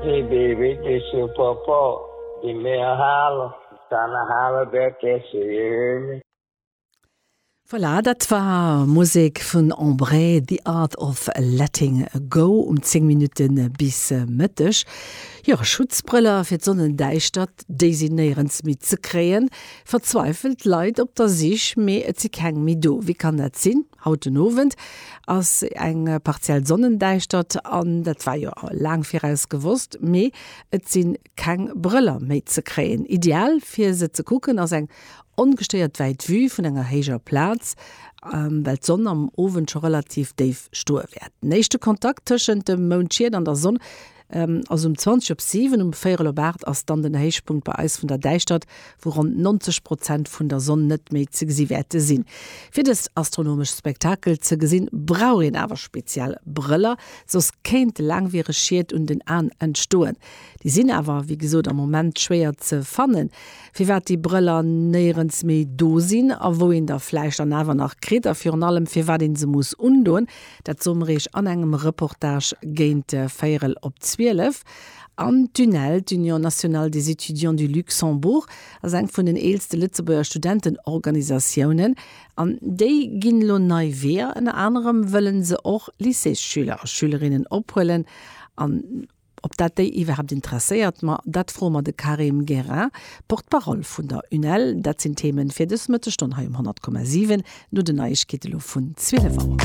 Hey baby, this your papa. Give me a holler. Tryna holler back at you, you hear me? Voilà, dat war Musek vun Embrae, The Art of Letting Go um 10 Minutte bis Mëtteg. Jo, Schutzbrëller fir d'Sonnendäischtert, déi sinn néierens méi ze kréien. Verzweifelt Leit op der Sich, mee et si keng méi do. Wéi kann dat sinn? Haut den Owend ass eng partiell Sonnendäischtert an dat war jo laang viraus gewosst, mee et si keng Brëller méi ze kréien. Ideal fir se ze kucken ass eng ongestéiert wäit Vue vun enger héijer Plaz, well d'Sonn am Owend scho relativ déif stoe wäert. Den éischte Kontakt tëschent dem Moundschiet an der Sonn ass um 20 op 7. Um véierel op 8 ass dann den Héichpunkt bei eis vun der Däischtert, wou ronn 90 Prozent vun der Sonn net méi ze gesi wäerte sinn. Fir dëst astronomescht Spektakel ze gesinn, brauch een awer speziell Brëller, soss kéinte laangwiereg Schied un den Aen entstoen. Déi sinn awer, wéi gesot, am Moment schwéier ze fannen. Firwat déi Brëller néierens méi do sinn a wou een der vläicht dann awer nach kritt a virun allem firwat een se muss undoen, dat soe mer iech an engem Reportage géint véierel op 12. An d'UNEL, d'Union nationale des étudiants du Luxembourg, ass eng vun den eelste Lëtzebuerger Studentenorganisatiounen an déi ginn elo nei Weeër. Ënner anerem wëlle se och Lycéesschüler a schülerinnen ophuelen an Ob dat déi iwwerhaapt interesséiert? Ma dat froe mer de Karim Guérin, Porte-parole vun der UNEL. Dat sinn Themen fir dës Mëttesstonn hei um 100,7 no den Neiegkeete lo vun 12 Auer.